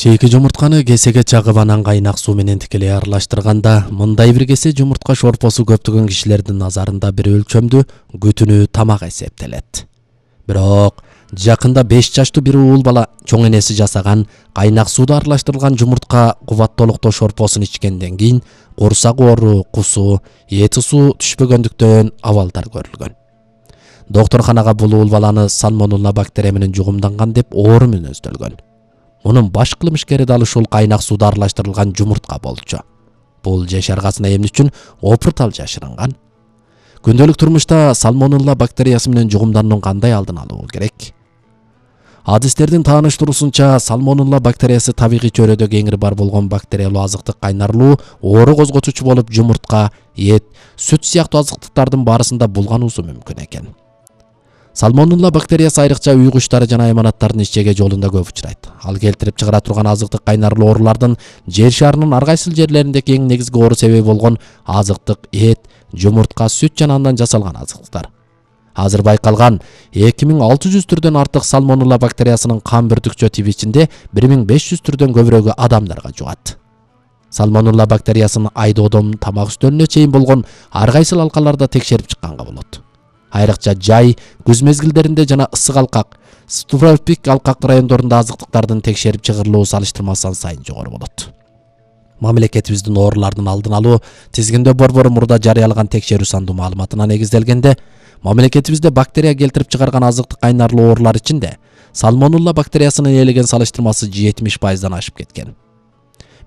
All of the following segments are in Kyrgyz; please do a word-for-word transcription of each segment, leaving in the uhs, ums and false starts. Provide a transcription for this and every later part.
Чейки жумуртканы кесеге чагып анан кайнак суу менен тикелей аралаштырганда мындай бир кесе жумуртка шорпосу көптөгөн кишилердин назарында бир өлчөмдүү күтүнүү тамак эсептелет. Бирок жакында беш жаштуу бир уул бала чоң энеси жасаган кайнак сууда аралаштырылган жумуртка кубаттуулуктоо шорпосун ичкенден кийин курсак оору, кусуу, эти суу түшпөгөндүктөн абалдар көрүлгөн. Доктурканага бул уул баланы сальмонелла бактерия менен жугумданган деп оору мүнөздөлгөн. Мунун баш кылмышкери дал ушул кайнак сууда аралаштырылган жумуртка болчу. Бул жашаргасына эмне үчүн опуртал жашырынган? Күндөлүк турмушта сальмонелла бактериясы менен жугумданууну кандай алдын алуу керек? Адистердин тааныштыруусунча, сальмонелла бактериясы табигый чөйрөдө кеңири бар болгон бактериялуу азыктык кайнарлуу оору козготуучу болуп, жумуртка, эт, сүт сыяктуу азыктыктардын баарысында булгануусу мүмкүн экен. Сальмонелла бактериясы айрыкча үй куштары жанаайманаттардын ичеге жолунда көп учурайт. Ал келтирип чыгара турган азыктык кайнарлуу оорулардын жер шарынын ар кайсыл жерлериндеги эң негизги оору себеби болгон азыктык, эт, жумуртка, сүт жана андан жасалган азыктыктар. Азыр байкалган эки миң алты жүз түрдөн артык сальмонелла бактериясынын кан бүртүкчө тиби ичинде бир миң беш жүз түрдөн көбүрөгү адамдарга жугат. Сальмонелла бактериясын айдоодон тамак үстөлүнө чейин болгон ар кайсыл алкаларда текшерип чыкканга болот. Айрыкча жай, күз мезгилдеринде жана ысык алкак, субтропик алкак райондорунда азыктыктардын текшерип чыгарылуу салыштырмасынан сайын жогору болот. Мамлекетибиздин оорулардын алдын алуу тизгиндөө борбору мурда жарыялаган текшерүү сандуу маалыматына негизделгенде, мамлекетибизде бактерия келтирип чыгарган азыктык кайнарлуу оорулар ичинде сальмонелла бактериясынын ээлеген салыштырмасы жетимиш пайыздан ашып кеткен.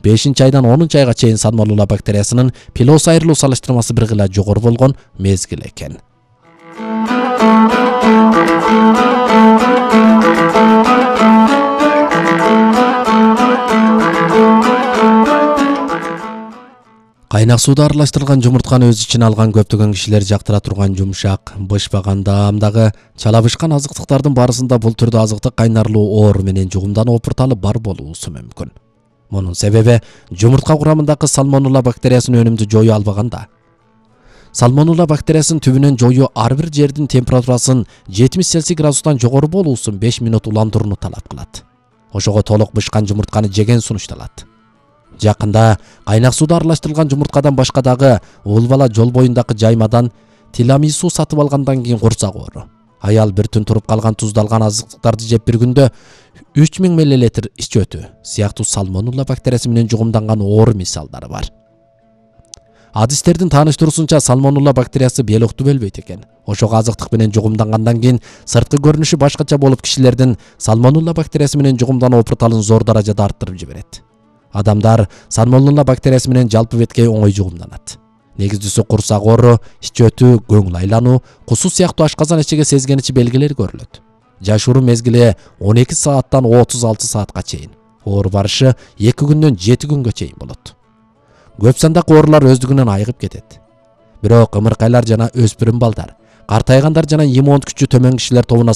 бешинчи айдан онунчу айга чейин сальмонелла бактериясынын пилос айрылуу салыштырмасы бир гыла жогору болгон мезгил экен. Кайнак сууда аралаштырылган жумуртканы өз ичине алган көптөгөн кишилер жактыра турган жумшак, бышпаган даамдагы чалабышкан азыктыктардын баарысында бул түрдө азыктык кайнарлуу оору менен жугумдануу опурталы бар болуусу мүмкүн. Мунун себеби жумуртка курамындагы сальмонелла бактериясын өнүмдү жою албаганда. Сальмонелла бактериясын түбүнөн жою ар бир жердин температурасын жетимиш цельсий градустан жогору болуусун беш минут уландырууну талап кылат. Ошого толук бышкан жумуртканы жеген сунушталат. Жакында кайнак сууда аралаштырылган жумурткадан башка дагы уул бала жол боюндагы жаймадан тирамису сатып алгандан кийин курсак оору. Аял бир түн туруп калган туздалган азыктыктарды жеп бир күндө үч миң миллилитр ич өтү сыяктуу сальмонелла бактериясы менен жугумданган оору мисалдары бар. Адистердин тааныштыруусунча, сальмонелла бактериясы биологту бөлбөйт экен. Ошого азыктык менен жугумдангандан кийин сырткы көрүнүшү башкача болуп, кишилердин сальмонелла бактериясы менен жугумдануу опурталын зор даражада арттырып жиберет. Адамдар сальмонелла бактериясы менен жалпы бетке оңой жугумданат. Негиздүүсү курсак оору, ич өтүү, көңүл айлануу, кусуу сыяктуу ашказан эчеге сезгеничи белгилери көрүлөт. Жашыруу мезгили он эки сааттан отуз алты саатка чейин. Оору барышы эки күндөн жети күнгө чейин болот. Көп сандагы оорулар өздүгүнөн айыгып кетет. Бирок ымыркайлар жана өспүрүм балдар, картайгандар жана иммундук күчү төмөн кишилер тобуна